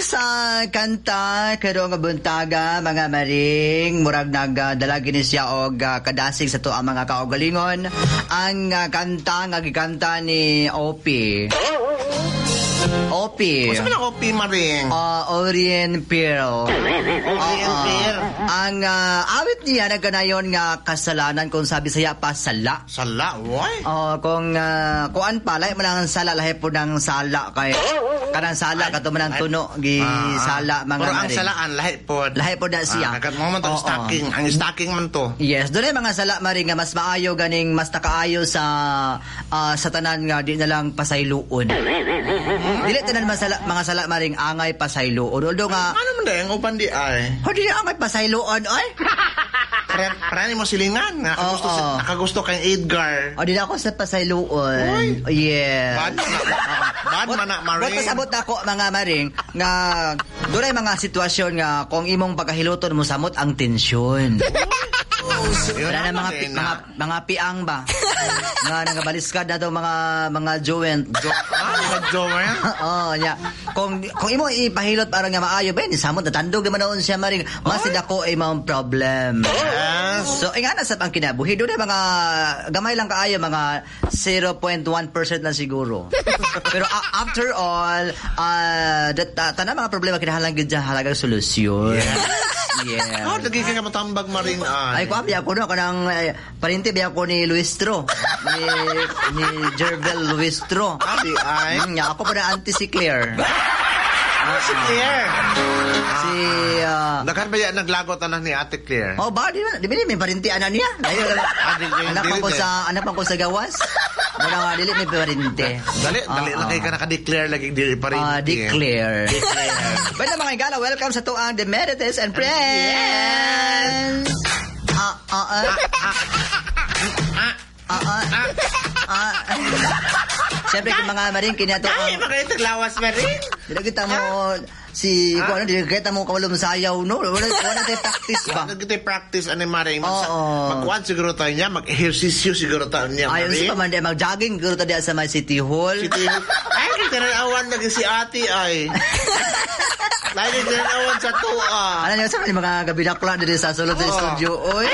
Sa kanta karong buntaga, mga maring, murag nagdala gini siya og kadasig sa to ang mga kaugalingon, ang kanta nga gikanta ni OP. OP. Unsa man ang OP, Maring? Orient Pearl. Orient Pearl. Ang awit niya nagkanayon nga kasalanan, kung sabi saya pa sala. Sala, why? Oh, kung kuan pa lahi man ang sala, lahi po ng sala kay kanang sala kato man ang tuno gi sala, mga Pero ang maring. Salaan lahi pod. Lahi pod na siya. Ah, mo man to stocking, ang stocking man to. Yes, doon ay mga sala, maring, nga mas maayo ganing mas nakaayo sa sa tanan nga di na lang pasayloon. Dili tanan masala, mga sala, maring, angay pasayloon. Although nga Ano man dai ang uban di ay? Oh, dili angay pasayloon ay. Parang mo silingan, nakagusto nakagusto kay Edgar. O, dili ako sa pasayloon. Yes. Bad man na, bad man na, Maring. But pasabot na ako, mga maring, nga doon ay mga sitwasyon nga kung imong pagkahiluton mo samot ang tensyon. Wala na mga mga piang ba? Nga nangabaliskad na daw mga joint. Mga joint? Oo, nya. Kung imo ipahilot para nga maayo ba, ni samot na tandog naman noon siya, maring. Mas dako ay mga problem. Yes. So, nga na sa ang kinabuhi. Doon ay mga gamay lang kaayo, mga 0.1% lang siguro. Pero after all, tanan mga problema kinahanglan gyud siya halagang solusyon. Yeah. Oh, lagi ka matambag, Maring ay. Ay, kuha biya ko no kanang parinti biya ko ni Luistro. Ni Jervel Luistro. Abi ay. Nya, ako pa na anti si Claire. Si Claire. Si Daghan ba yan naglagot anak ni Ate Claire? Oh, ba di ba may parinti anak niya? Layo lang. Anak pa ko sa anak pa ko sa gawas. Wala nga dili may parinti. Dali, dali lang kay ka naka-declare lagi dili parinti. Declare. Bueno, mga igala, welcome sa tuang The Marites and Friends. Ah, ah, ah. Ah, ah. Ah. Siyempre, kung mga maring, kinato Ay, ang mga itaglawas, Maring. Dili kita mo si kung ano, dili kita mo kawalom sayaw, no? Wala tayo practice ba? Wala tayo practice ani, Maring. Oo. Magkuhan siguro tayo niya, mag-ehersisyo siguro tayo niya, Ayon Maring. sa paman, mag-jogging siguro tayo diya sa may City Hall. City Hall. Ay, tinanawan lagi si ate ay. Lagi tinanawan sa tuwa. Ano niyo sa mga gabidakla diri sa sulod sa studio, oy.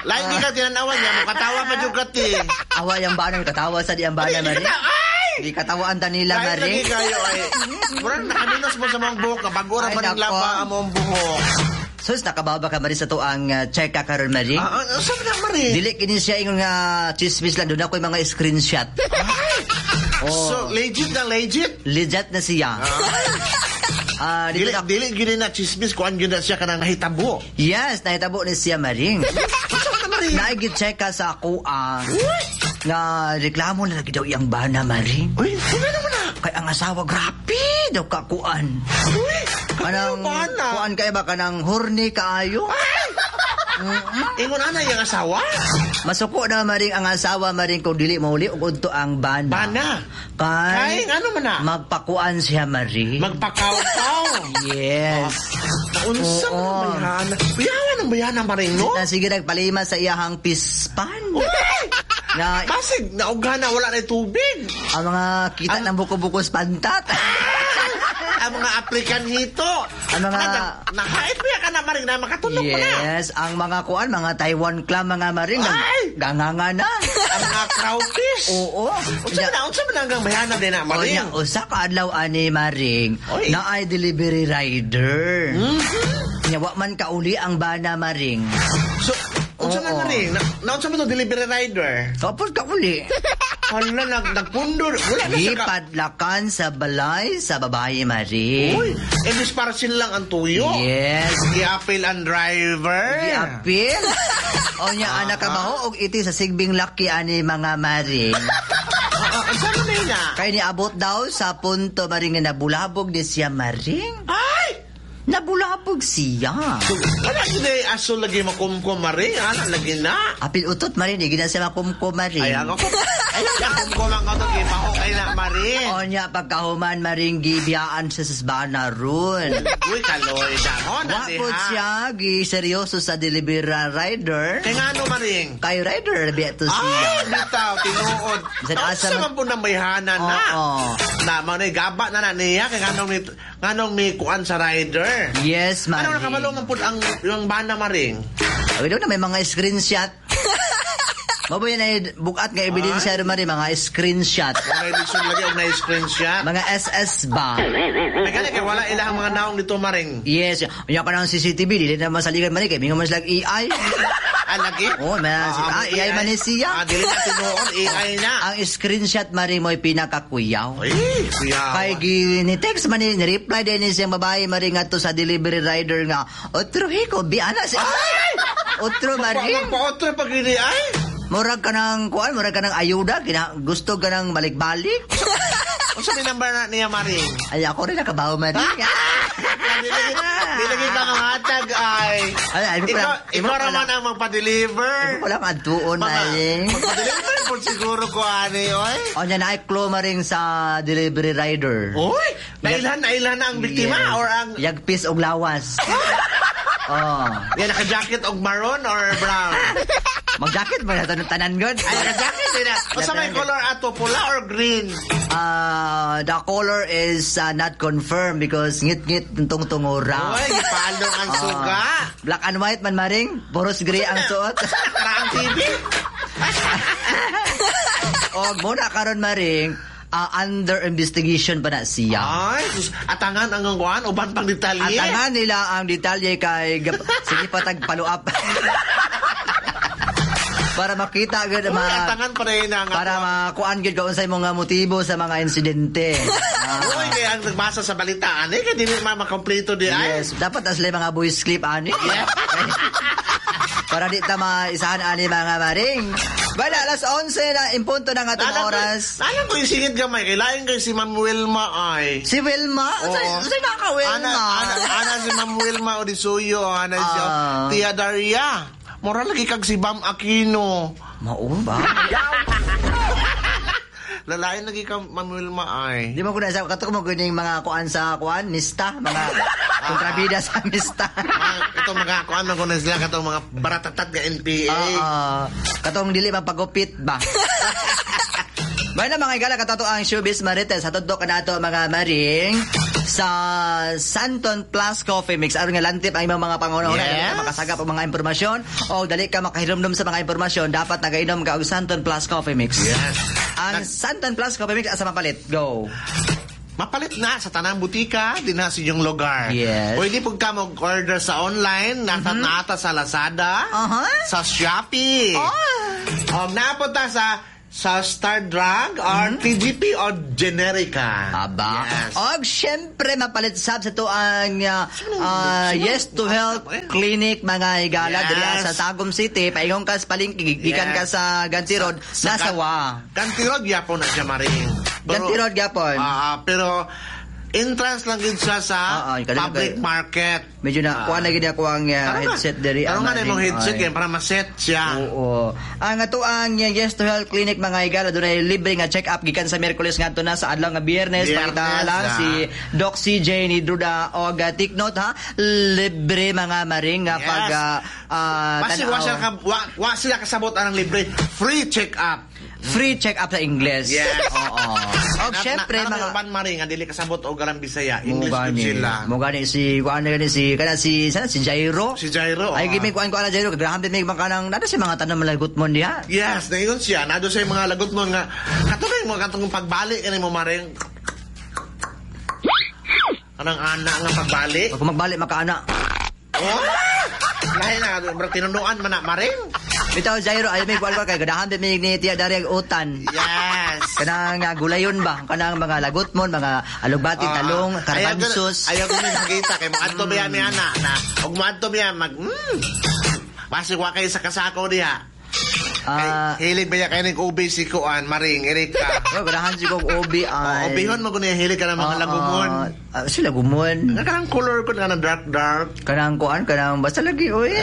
Lagi ka tinanawan niya, mukatawa pa jud ka ti. Awa yung bana, katawa sa di ang bana, Maring. Ay! Di katawaan ta nila, Lagi Maring. lagi kayo ay. Murag nakaminos mo sa mga buhok, bago ra Ay, man ang nako. laba ang mong buhok. Sus, nakababa ka, Maring, sa tuang check ka karon, Maring. Saan na, Maring? Dili kini siya ingon nga chismis lang, doon ako yung mga screenshot. Oh. So, legit na legit? Legit na siya. Dito Dili, na, dili gyud na chismis, kuan gyud na siya kanang nahitabo. Yes, nahitabo ni siya, Maring. Unsa man na, Maring? Naigit-check ka sa ako ang nga reklamo na lagi daw iyang bana, Maring. Uy, sino naman na? Kay ang asawa, grabe daw kakuan. Uy, Kanang bana? kuan kay ba kanang horny kaayo? Ingon ana iyang asawa? Masuko na, Maring, ang asawa, Maring, kung dili mauli og udto ang bana. Bana. Kay, Kay ano man na? Magpakuan siya, Maring. Magpakaw-kaw. Yes. Unsa man ang bayana? Kuyawan ang bayana, Maring, no? Na sige nagpalima sa iyahang pispan. Na Basig nauga na wala na tubig. Ang mga kita ng buko-buko sa pantat. Ang mga aplikan hito. Ang mga Nahait pa ka na, Maring, na makatulog pa na. Yes, ang mga kuan, mga Taiwan clam, mga Maring, Ay! ganganga na. Ang mga crowfish. Oo. Unsa man hanggang bayana din na, Maring? Onya, usa ka adlaw ani, Maring, Oy. na ay delivery rider. Nya wa man kauli ang bana, Maring. So, unsa man, Oo. Maring? Na unsa man to delivery rider? Tapos kauli. Hala, nagpundor. Wala na siya ka. Gipadlakan sa balay sa babae, Maring. Uy, imbis parcel lang ang tuyo. Yes. Giapil ang driver. Giapil. O nya, anak ka ba og iti sa sigbing laki ani, mga Maring. Unsa man na? Kay niabot daw sa punto, Maring, nga nabulabog ni siya, Maring. Ay! Nabulabog siya. Wala gid ay aso lagi makumkum, Maring. Ana lagi na. Apil utot, Maring, di gina siya makumkum, Maring. Ay, ako. Ay, kumkum ang utot gimaho kay na, Maring. O nya, pagkahuman, Maring, gibiyaan siya sa bana ron. Uy, kaloy na mo na Wa po diha. siya, gi seryoso sa delivery rider. Kay ngano, Maring? Kay rider, biya to siya. Ay, bitaw, tinuod. Bisan asa Asa man po ng bayhana na. Oo. Na, mao na gaba na na niya. Kay nganong ni, Nganong may kuan sa rider. Yes, Ano Maring. nakabalo man pud ang yung bana, Maring? Ay, doon na may mga screenshot. Mabo yan ay bukat nga ebidensya rin, Maring, mga screenshot. Mga edition lagi og na screenshot. Mga SS ba? Ay gani kay wala ilang mga naong dito, Maring. Yes. Unya ka ng CCTV, dili na masaligan, Maring, kay mingon man sila AI. Ah, lagi? Oo, AI man ni siya. Ah, dili na tinuod, AI na. Ang screenshot, Maring, mo'y pinakakuyaw. Ay, kuya. Kay ni text man ni reply din ni siyang babae, Maring, ngadto sa delivery rider nga otro hiko bi ana si otro, Maring. Magpa-otro pag ini ay. Murag ka ng kuan, murag ka ng ayuda, kina, gusto ka ng balik-balik. Unsa may number na niya, Maring? Ay, ako rin nakabaw, Maring. Dili lagi ka mahatag ay. Ay, ay, Ikaw, imo ikaw pala- raman ang magpa-deliver. Wala kang adtuon, Maring. Magpa-deliver po siguro ko ani, oy. O niya na clue, Maring, sa delivery rider. Oy, nailhan na ang biktima Yes. or ang Yagpis og lawas. Oh. Yan, naka-jacket og maroon or brown? Mag-jacket ba na tanan god? Ay, naka-jacket din na. Unsa may color ato, pula or green? The color is not confirmed because ngit-ngit tungtong tungura. Oy, gipalong ang suga. Black and white man, Maring, puros gray ang suot. Karaang TV. Og muna karon, Maring, under investigation pa na siya. Ay, sus, atangan ang kuan uban pang detalye. Atangan nila ang detalye kay sige pa tag follow up. Para makita gud Uy, ma atangan pa rin ang para makuan gyud kung unsay mga motibo sa mga insidente. Uy, kaya ang nagbasa sa balita, ani kay dili ma makompleto di ay. Yes, dapat asli mga voice clip ani. Para di ta maisahan ani, mga maring. Bala, alas 11 na impunto na nga itong oras. Alam ko yung singit gamay, kay lain kay si Ma'am Wilma ay. Si Wilma? Oo. Unsay na ka Wilma? Ana si Ma'am Wilma Odisuyo, ana si Tia Daria. Mura lagi kag si Bam Aquino. Mao ba? Lalain lagi ka Ma'am Wilma ay. Di mo ko na sa kato mo guning mga kuan sa kuan, mista, mga kontrabida sa mista. Ito mga kuan man kuno sila katong mga baratatat nga NPA. Katong dili mapagupit ba? Bueno, mga igala, katato ang Showbiz Marites. Hatod do kanato, mga maring, sa Santon Plus Coffee Mix. Aron nga lantip ang imong mga pangunahuna, dali ka makasagap og mga impormasyon o dali ka makahirumdum sa mga impormasyon, dapat nagainom ka og Santon Plus Coffee Mix. Yes. Ang Santon Plus Coffee Mix asa mapalit? Go. Mapalit na sa tanang butika din na sa inyong lugar. Yes. Pwede po ka mag-order sa online, nata nata sa Lazada, sa Shopee. Oh. Napunta sa Star Drug or TGP or Generica. Aba. Yes. Og syempre mapalit sab sa to ang Yes to Health Clinic, mga higala, diri sa Tagum City, paingon ka sa palengke gikan ka sa Ganti Road, nasa wa. Ganti Road gyapon na siya, Maring. Ganti Road gyapon. Pero entrance lang gid siya sa public market. Medyo na kuha na gid ako ang headset diri. Karon nga na imong headset kay para ma-set siya. Oo. Ang ato ang Yes to Health Clinic, mga higala, dunay libre nga check-up gikan sa Miyerkules ngadto na sa adlaw nga Biyernes. Pangita lang si Doc CJ ni Druda og take note ha, libre, mga maring, nga pag Basi wa wa sila kasabot anang libre, free check-up. Free check-up sa Ingles. Yes. Oo. Og syempre mga uban, maring, nga dili kasabot og galang Bisaya, English gud sila. Mo gani si kuan gani si kana si sana si Jairo. Si Jairo. Ay gimi kuan ko ana Jairo, graham din may mga kanang nado si mga tanom lagot mo diha. Yes, naingon siya, nado sa mga lagot mo nga katuloy mo katong pagbalik kani mo, maring. Kanang ana nga pagbalik. Pag magbalik makaana. Oh! Lahi na, bro, tinunuan man na, maring. Bitaw Jairo, ay may kuan kay ganahan din ni Tia Daria og utan. Yes. Kanang gulayon ba? Kanang mga lagot mo, mga alugbati, talong, karbansos. Ayaw ko nagkita kay moadto biya ni ana na. Og moadto biya mag Basig wa kay sa kasako diha. Hilig ba kay ning ubi si kuan, Maring Erika? Oh, ganahan si kog ubi ay. Oh, ubihon mo kuno hilig ka ng mga lagumon. Si lagumon. Kanang color ko kanang dark dark. Kanang kuan, kanang basta lagi oy.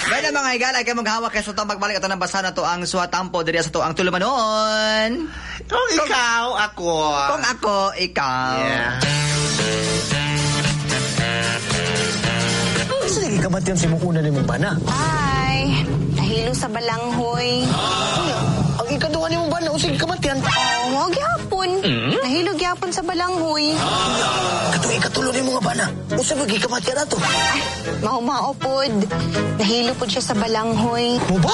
Gana mga higala kay maghawak kay sa tong pagbalik ato nang basa na to ang Suwatampo diri sa to ang tulumanon. Kung ikaw, ako. Kung ako, ikaw. Yeah. Sige ka ba't yan si mong una ni mong bana? Ay, nahilo sa balanghoy. Kuya, ang ikaduha ni mong bana, o sige ka ba't yan? Oh, mo gyapon. Nahilo gyapon sa balanghoy. Katong ikatulo nimo nga bana. Unsa ba gikamatyan ato? Ay, mao-mao pod. Nahilo pod siya sa balanghoy. Mo ba?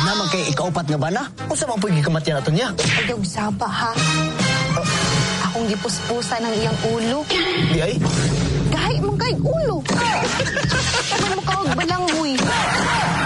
Naman kay ikaupat nga bana. Unsa man pud gikamatyan ato niya? Ayaw saba ha. Akong gipuspusan ang iyang ulo. Di ay. Gahi man kay ulo. Man mo kaog balanghoy.